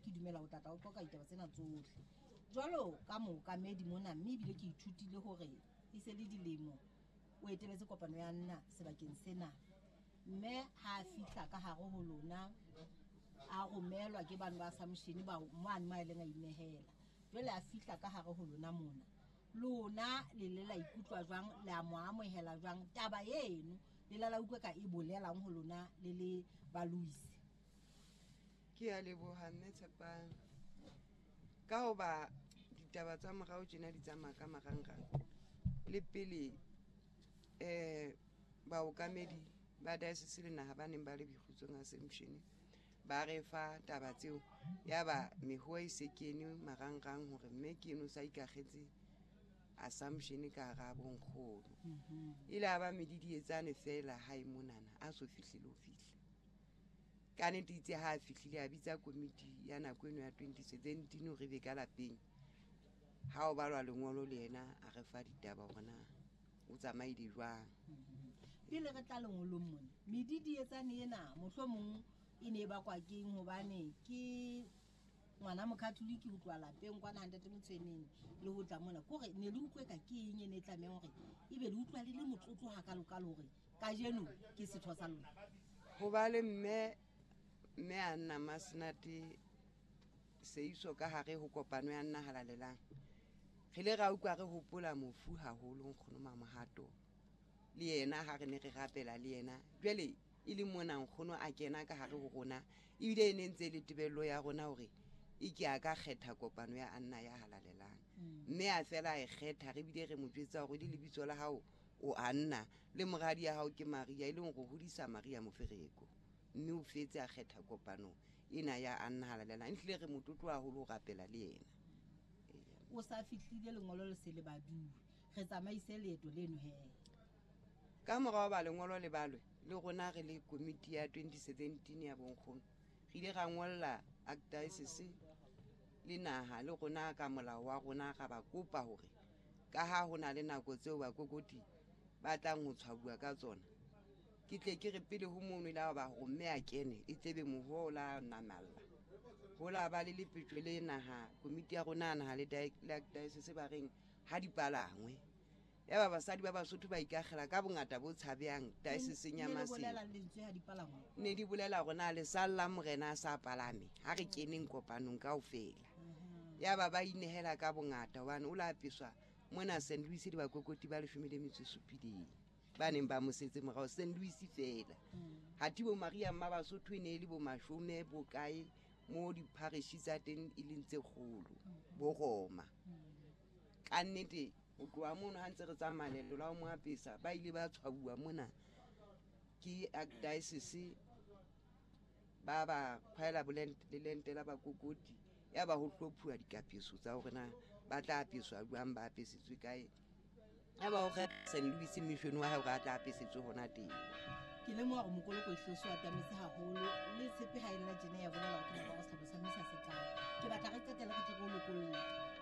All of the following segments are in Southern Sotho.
Ke dumela ho tlatla o qoqa ditaba tsena tsohle jwalo ka mookamedi mona, mme ebile ke ithutile hore e se le dilemo o eteletse kopano ya nna sebakeng sena. Mme ha a fihla ka hare ho lona, a romelwa ke bano ba Assumption ba mane mo a ileng a inehela. Jwale a fihla ka hare ho lona mona, lona le le la ikutlwa jwang, le a mo amohela jwang? Taba eno le la la utlwa ka e bolelang ho lona le le ba Louis? Ke a leboha mme Tshepang. Ka hoba ditaba tsa morao tjena di tsamaya ka marangrang, le pele baokamedi ba diocese le naha ba neng ba le boikgutsong Assumption ba re fa taba tseo, ya ba mehoa e se kene marangrang hore mme ke eno sa ikakgetse Assumption ka hara bonkgono. Ile a ba medidietsane fela hae monana a so fihle le ho fihla. Ka nnete itse ha a fihlile a bitsa komiti ya nako eno ya 2017 hore be ka lapeng. Ha o balwa lengolo le yena a re fa ditaba hore na o tsamaile jwang. Pele re tla lengolong mona, medidietsane ena mohlomong e ne e bakwa keng? Hobane ke ngwana mokatholike ho tloha lapeng kwana ha ntate Motshweneng le ho tla mona, ke hore ne le utlwe ka ke eng e ne e tlamehang hore ebe le utlwa le le motlotlo hakalokalo hore kajeno ke setho sa lona? Ho ba le mme a nna Masenate Seiso ka hare ho kopano ya nna halalelang, re ile ra utlwa re hopola mofu haholo nkgono Mamohato le yena ha re ne re rapela le yena. Jwale e le mona nkgono a kena ka hare ho rona, ebile e ne ntse e le tebello ya rona hore e ke a ka kgetha kopano ya Anna ya halalelang. Mme a fela a e kgetha, re bile re mo jwetsa hore le lebitso la hao o Anna le moradi ya hao ke Maria, e leng hore hodisa Maria Mofereko. Mme o fetse a kgetha kopano ena ya Anna halalelang. Ehlile re motlotlo haholo ho rapela le yena. O sa fihlile lengolo le se le baduwe, re tsamaise leeto leno he. Ka morao ba lengolo le balwe, le rona re le komiti ya 2017 ya bonkgono, re ile ra ngolla archdiocese le naha le rona ka molao wa rona ra ba kopa hore ka ha ho na le nako tseo bakokoti ba tlang ho tshwauwa ka tsona, ke tle ke re pele ho mono ile ba hore mme a kene e tlebe moho la namalla. Ho la ba le lepetjo le naha komiti ya rona naha le archdiocese ba reng ha di palangwe. Ya ba basadi ba Basotho ba ikakgela ka bongata bo tshabehang dioceseng ya Maseru. Ne di bolela hore na le salla morena a sa palame ha re keneng kopanong kaofela. Ya ba ba inehela ka bongata hobane o la apeswa mona St. Louis le bakokoti ba 17 ba neng ba mosetse morao St. Louis fela. Ha bo Maria mma Basotho e ne e le bo mashome bo kae mo diparish tsa teng e leng tse kgolo bo Roma. Ka nnete ho tloha mono ha ntse re tsamaya leeto la ho mo apesa, ba ile ba tshwauwa mona ke archdiocese, ba ba kgwaela lelente la bakokoti, ya ba ho hlophuwa dikapeso tsa hore na ba tla apeswa jwang, ba apesetswe kae. Ya ba ho kgetha St. Louis mission wa hae hore a tla apesetswe hona teng. Ke lemoha hore mokoloko e hloso atametse haholo le tshepe ha e lla tjena ya bolela hore ke nako ya sehlopha sa misa se tlang. Ke batla re qetelle re tle re o lokolle.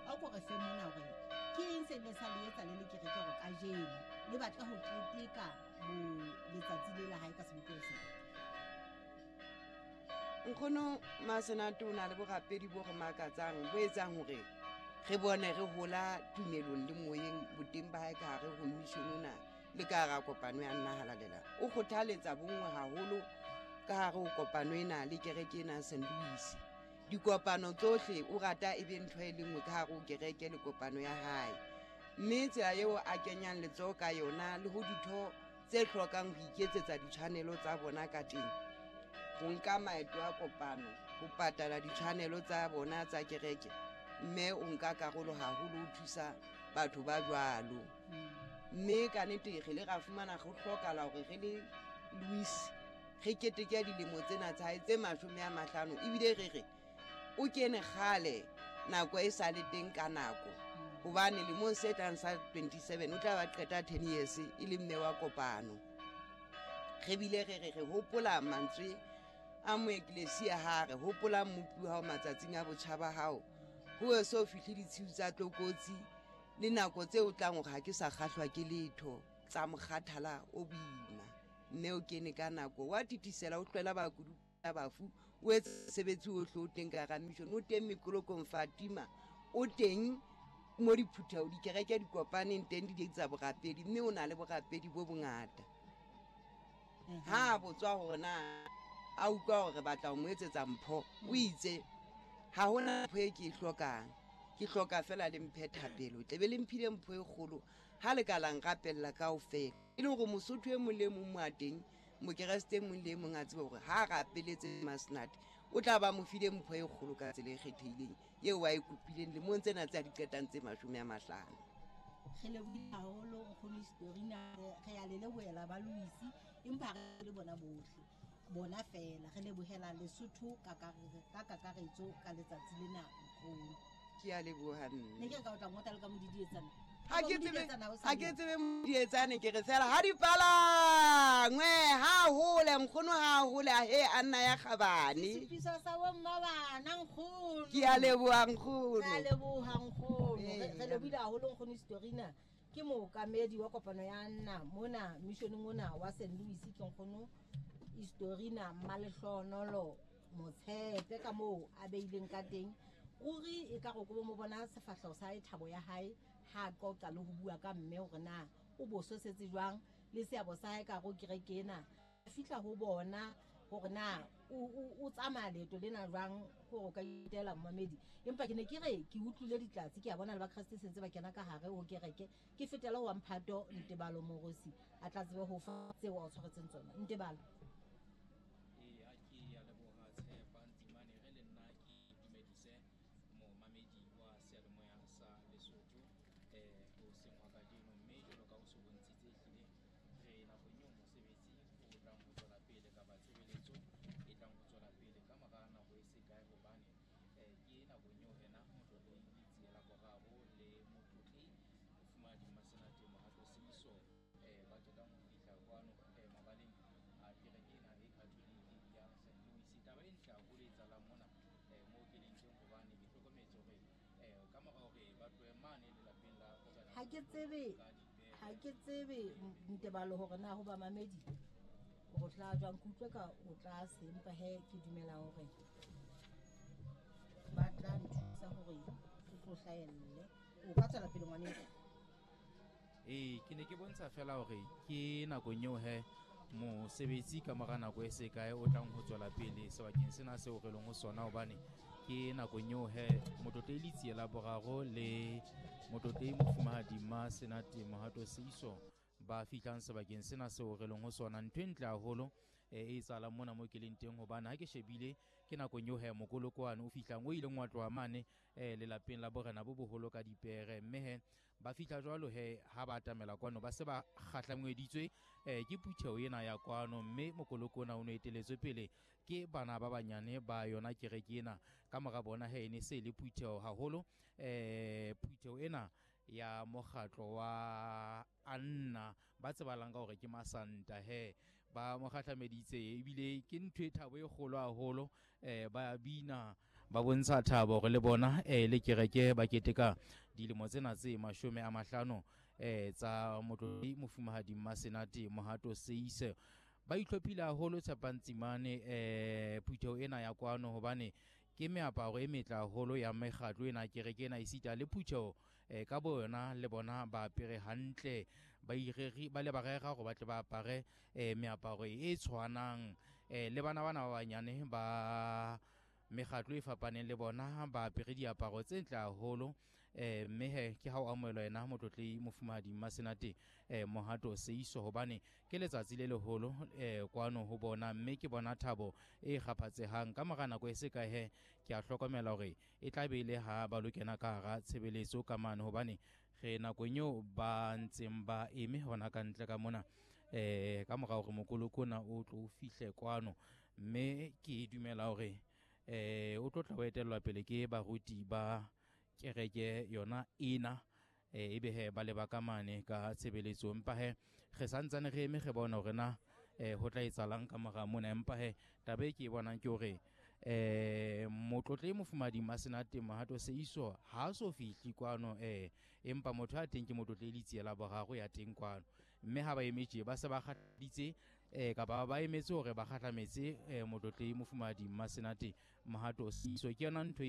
A o ko re fe mona hore ke eng se ne sa le etsa le le kereke hore kajeno le batla ho keteka bo letsatsi le la hae ka sebopeho sena? Nkgono Masenate o na le borapedi bo re makatsang, bo etsang hore re bone re hola tumelong le moyeng boteng ba hae ka hare ho mission ona le ka hara kopano ya nna halalelang. O kgothaletsa bonngwe haholo ka hare ho kopano ena le kereke ena St. Louis. Dikopano tsohle o rata e be ntho e le nngwe ka hare ho kereke le kopano ya hae. Mme tsela eo a kenyang letsoho ka yona le ho ditho tse hlokang ho iketsetsa ditshwanelo tsa bona ka teng, ho nka maeto a kopano, ho patala ditshwanelo tsa bona tsa kereke, mme o nka karolo haholo ho thusa batho ba jwalo. Mme ka nnete re le ra fumana ho hlokahala hore re le Louis re keteke dilemo tsena tsa hae tse 50, ebile re re o kene kgale nako e sa le teng ka nako, hobane lemong se tlang sa 27 o tla ba qeta 10 years e le mme wa kopano. Re bile re re re hopola mantswe a moeklesia ha re hopola mmopi wa hao matsatsing a botjha ba hao, ho eso fihle ditshiu tsa tlokotsi le nako tse o tlang hore ha ke sa kgahlwa ke letho tsa mokgathala o boima. Mme o kene ka nako wa titisela o tlwela bakudu bafu O etsa mosebetsi ohle o teng ka hara mission, o teng mekolokong Fatima, o teng mo diphutheho dikereke di kopaneng teng di tsa borapedi, mme o na le borapedi bo bongata. Ha a botswa hore na a utlwa hore re batla ho mo etsetsa mpho, o itse ha hona mpho e ke e hlokang, ke hloka fela le mphe thapelo. Tle be le mphile mpho e kgolo ha le ka la nrapella kaofela, e le hore Mosotho e mong le mong mo a teng, Mokeresete e mong le e mong a tsebe hore ha a rapeletse Masenate o tla ba mo file mpho e kgolo ka tsela e kgethehileng eo a e kopileng lemong tsena tse a di qetang tse 50. Re lebohile haholo nkgono Historina, re a le lebohela ba Louis, empa re le bona bohle, bona fela re lebohela Lesotho ka kakaretso ka letsatsi lena nkgono. Ke a leboha mme. Ne ke re ka o tla ngota le ka modidietsana. Ha ke tsebe, ha ke tsebe modidietsane, ke re fela ha di palangwe, ha hole nkgono, ha hole a he a nna ya kgabane. Sesupiso sa bomma bana nkgono. Ke a leboha nkgono. Ke a leboha nkgono. Re lebohile haholo nkgono Historina. Ke mookamedi wa kopano ya nna mona missioneng ona wa St. Louis, ke nkgono Historina Mmalehlohonolo Motshepe ka moo a beileng ka teng. Ruri e ka re ko mo bona sefahleho sa hae, thabo ya hae ha a qoqa le ho bua ka mme hore na o bososetse jwang le seabo sa hae ka hare ho kereke ena. A fihla ho bona hore na o tsamaya leeto lena jwang hore o ka itela momamedi. Empa ke ne ke re ke utlwile ditlatse, ke a bona le Bakreste sentse ba kena ka hare ho kereke. Ke fetela ho wa Mphato Ntebalo Morosi a tla tsebe ho fa tseo a o tshwaretseng tsona. Ntebalo. Ee, ha ke a leboha Tshepa Ntsimane, re le nna ke dumedise momamedi wa seyalemoya sa Lesotho hoseng hwa kajeno. Mme jwalo ka o so bontshitse, ehlile re nakong eo mosebetsi o tlang ho tswela pele kapa tshebeletso e tlang ho tswela pele ka mora nako e se kae, hobane ke nakong eo ena motlotlehi Letsie la Boraro le motlotlehi Mofumahadi Mmasenate Mohato Seiso ba qetang ho fihla kwano mabaleng a kereke ena e Catholic ya St. Louis. Taba e ntle haholo e etsahalang mona moo ke leng teng, hobane ke hlokometse hore ka mora hore ba tlohe mane lelapeng la Morena Ha ke tsebe, ha ke tsebe Ntebalo hore na ho ba mamedi hore tla jwang, ke utlwe ka o tlase, empa he ke dumela hore ba tla nthusa hore ke tlo hlahelle. O ka tswela pele ngwaneso. Ee, ke ne ke bontsha fela hore ke nakong eo he mosebetsi ka mora nako e se kae o tlang ho tswela pele sebakeng sena seo re leng ho sona, hobane ke nakong eo he motlotlehi Letsie la Boraro le motlotlehi Mofumahadi Mmasenate Mohato Seiso ba fihlang sebakeng sena seo re leng ho sona. Ntho e ntle haholo e etsahalang mona mo ke leng teng, hobane ha ke shebile ke nakong eo he mokolokoane o fihlang o ileng wa tloha mane lelapeng la borena bo boholo ka dipere. Mme he ba fihla jwalo he ha ba atamela kwano ba se ba kgahlangweditswe ke phutheho ena ya kwano, mme mokoloko ona o no eteletswe pele ke bana ba banyane ba yona kereke ena. Ka mora bona he e ne se le phutheho haholo, phutheho ena ya mokgatlo wa Anna ba tsebalang ka hore ke Masanta he ba mo kgahlameditse, ebile ke ntho e thabo e kgolo haholo. Ba bina ba bontsha thabo hore le bona le kereke ba keteka dilemo tsena tse 50 tsa motlotlehi Mofumahadi Mmasenate Mohato Seise. Ba itlhophile haholo Tshepantsimane phutheho ena ya kwano, hobane ke meaparo e metle haholo ya mekgatlo ena kereke ena, esita le phutheho ka bo yona le bona ba apere hantle, ba ireri ba le ba rera hore ba tle ba apare meaparo e tshwanang le bana bana ba banyane ba mekgatlo e fapaneng le bona ba apere diaparo tse ntle haholo. Mme he ke ha o amohelwa yena motlotlehi Mofumahadi Mmasenate Mohato Seiso, hobane ke letsatsi le leholo kwano ho bona, mme ke bona thabo e kgaphatsehang. Ka mora nako e se kae he ke a hlokomela hore e tla be le ha ba lo kena ka hara tshebeletso ka mane, hobane re nakong eo ba ntseng ba eme hona ka ntle ka mona ka mora hore mokoloko ona o tlo fihle kwano. Mme ke dumela hore o tlo tla o etellwa pele ke baruti ba kereke yona ena, ebe he ba leba ka mane ka tshebeletso. Empa he re santsane re eme re bona hore na ho tla etsahalang ka mora mona. Empa he taba e ke e bonang ke hore motlotlehi Mofumahadi Mmasenate Mohato Seiso ha so fihli kwano, empa motho a teng ke motlotlehi Letsie la Boraro ya teng kwano. Mme ha ba eme tje ba se ba kgathaditse Kapa ba emetse hore ba kgahlametse motlotlehi mofumahadi Mmasenate Mohato Seeiso. Ke yona ntho.